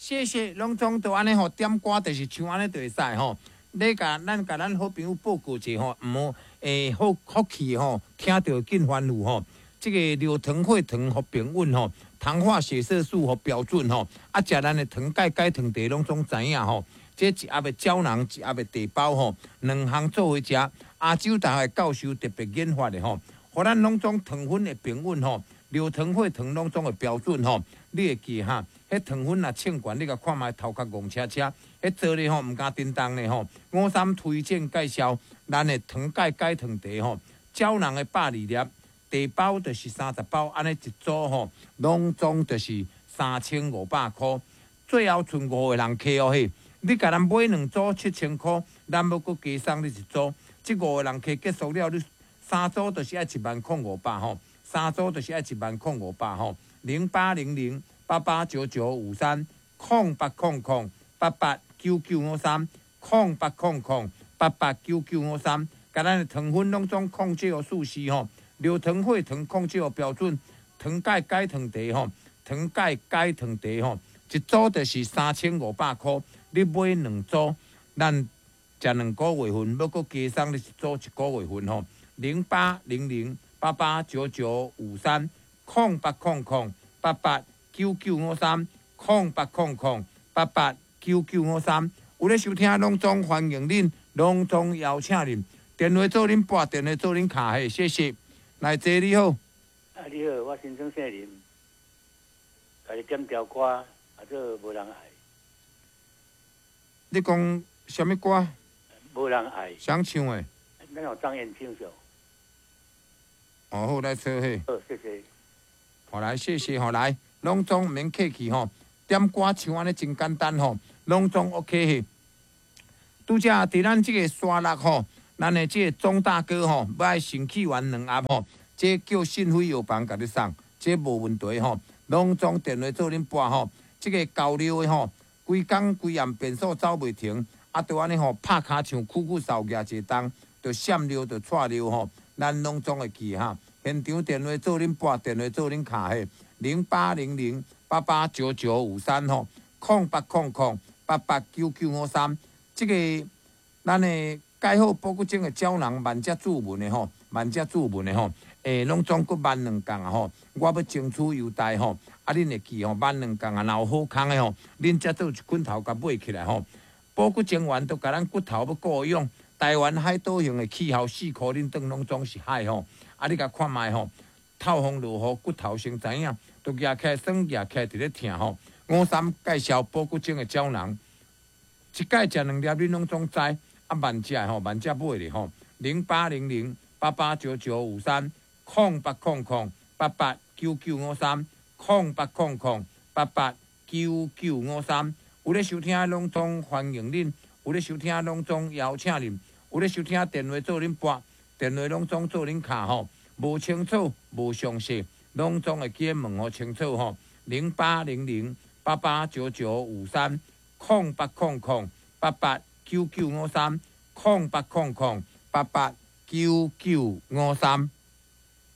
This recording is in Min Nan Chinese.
謝謝，攏總都按呢吼，點歌就是唱按呢就會使吼。你共咱共咱好朋友報告者吼，毋好欸好福氣吼，聽著緊歡呼吼。這个尿糖血糖予平穩吼，糖化血色素予標準吼，啊，食咱的糖鈣解糖茶攏總知影吼。這一盒的膠囊，一盒的茶包吼，兩項做伙食。亞洲大學教授特別研發的吼，予咱攏總糖分會平穩吼，尿糖血糖攏總會標準吼。你會記哈？彼糖分若稱懸，你共看覓頭殼戇車車，彼做咧吼毋敢叮當咧吼。五三推薦介紹咱的糖鈣解糖茶吼，膠囊的120粒，茶包就是30包，按呢一組吼，攏總就是3500箍。最後賰五個人客哦嘿，你共咱買兩組7000箍，咱欲閣加送你一組。這五個人客結束了，你三組就是愛1萬零500吼，三組就是愛1萬零500吼，0800889953，0800889953，0800889953，共咱的糖分攏總控制予舒適吼，尿糖血糖控制予標準，糖鈣解糖茶吼，糖鈣解糖茶吼，一組就是3500箍，你買兩組，咱食兩個月份，欲閣加送你一組一個月份吼，0800889953，0800889953，0800889953，有咧收聽，攏總歡迎恁，攏總邀請恁，電話做恁撥，電話做恁敲嘿，謝謝。來，坐你好。啊，你好，我新莊姓林，共你點條歌，啊，做無人愛。你講啥物歌？無人愛。誰唱的？咱有張燕唱著。哦，好，來坐嘿。好，謝謝。好來，謝謝，好來，攏總毋免客氣吼，點歌唱按呢真簡單吼，攏總 OK 嘿。拄才佇咱這个沙鹿吼，咱的這个鍾大哥吼，欲愛腎氣丸兩盒吼，這叫信輝藥房共你送，這無問題吼。攏總電話做恁撥吼，這个高尿的吼，規工規暗便所走袂停，啊，就按呢吼，拍跤像苦苦掃舉一個重，就閃尿就掣尿吼，咱攏總會記哈。現場電話做恁撥，電話做恁敲嘿，0800889953吼，0800889953，這个咱的蓋好保骨精的膠囊，萬家注文的吼，萬家注文的吼，欸，攏總閣萬兩共啊吼，我欲爭取優待吼，啊，恁會記吼，萬兩共啊，若有好康的吼，恁才做一棍頭共買起來吼。保骨精丸都共咱骨頭欲顧養，台灣海島型的氣候，四箍恁當攏總是海吼，啊，你共看覓吼，透風落雨，骨頭先知影，都舉起來酸，舉起來佇咧疼吼。五三介紹保骨精的膠囊，一擺食兩粒，恁攏總知。啊，慢食吼，慢食買咧吼，0800889953，0800889953，0800889953。有咧收聽，攏總歡迎恁；有咧收聽，攏總邀請恁；有咧收聽，電話做恁撥，電話攏總做恁敲吼。無清楚，無詳細，攏總會記得問予清楚吼。0800889953，0800889953，0800889953。